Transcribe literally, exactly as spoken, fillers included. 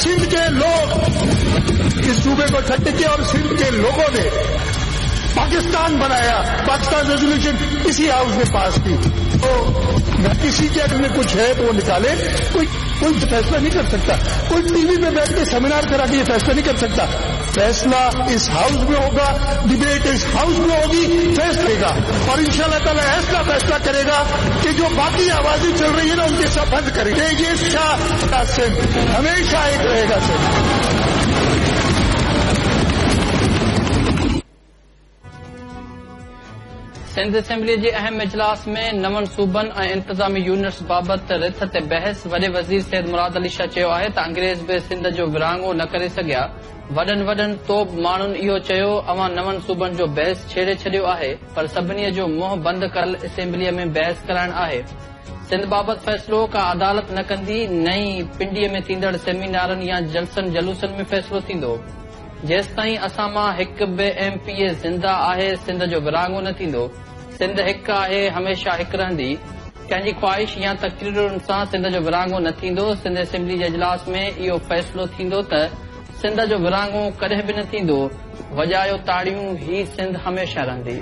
सिंध के लोग इस सूबे को छੱड के और सिंध के लोगों ने पाकिस्तान बनाया। पाकिस्तान रेजोल्यूशन इसी हाउस ने पास की। तो किसी के अगर में कुछ है तो वो निकाले। कोई कोई फैसला नहीं कर सकता, कोई टीवी में बैठ के सेमिनार करा के ये फैसला नहीं कर सकता। फैसला इस हाउस में होगा, डिबेट इस हाउस में होगी, फैसलेगा और इंशाअल्लाह ताला ऐसा फैसला करेगा कि जो बाकी आवाजें चल रही है ना उनके सब बंद करेंगे। ये शाह सिंध हमेशा एक रहेगा सिंध। सिंध असेंबली जे अहम इजलास में नवनि सूबनि ऐं इंतज़ामी यूनिट्स बाबति रिथ ते बहस। वॾे वज़ीर सैद मुराद अली शाह चयो आहे त अंग्रेज़ बि सिंध जो विरहाङो न करे सघिया। वॾनि वॾनि तोब माण्हुनि इहो चयो अव्हां नवनि सूबनि जो बहस छेड़े छॾियो आहे, पर सभिनी जो मुंहुं बंदि कयल असेंबलीअ में बहस कराइण आहे। सिंध बाबति फ़ैसिलो का अदालत न कंदी, न ई पिंडीअ में थींदड़ सेमिनारनि या जलसनि जलूसनि में फ़ैसिलो थींदो। जेसिताईं असां मां हिकु बि एम पी ए ज़िंदा आहे, सिंध जो विरहाङो न थींदो। सिंध हिकु आहे, हमेशह हिकु रहंदी। कंहिंजी ख़्वाहिश या तकरीरुनि सां सिंध जो विरहाङो न थींदो। सिंध असेंबली जे इजलास में इहो फ़ैसिलो थींदो त सिंध जो विरहाङो कॾहिं बि न थींदो। वॼायो ताड़ियूं, ही सिंध हमेशह रहंदी।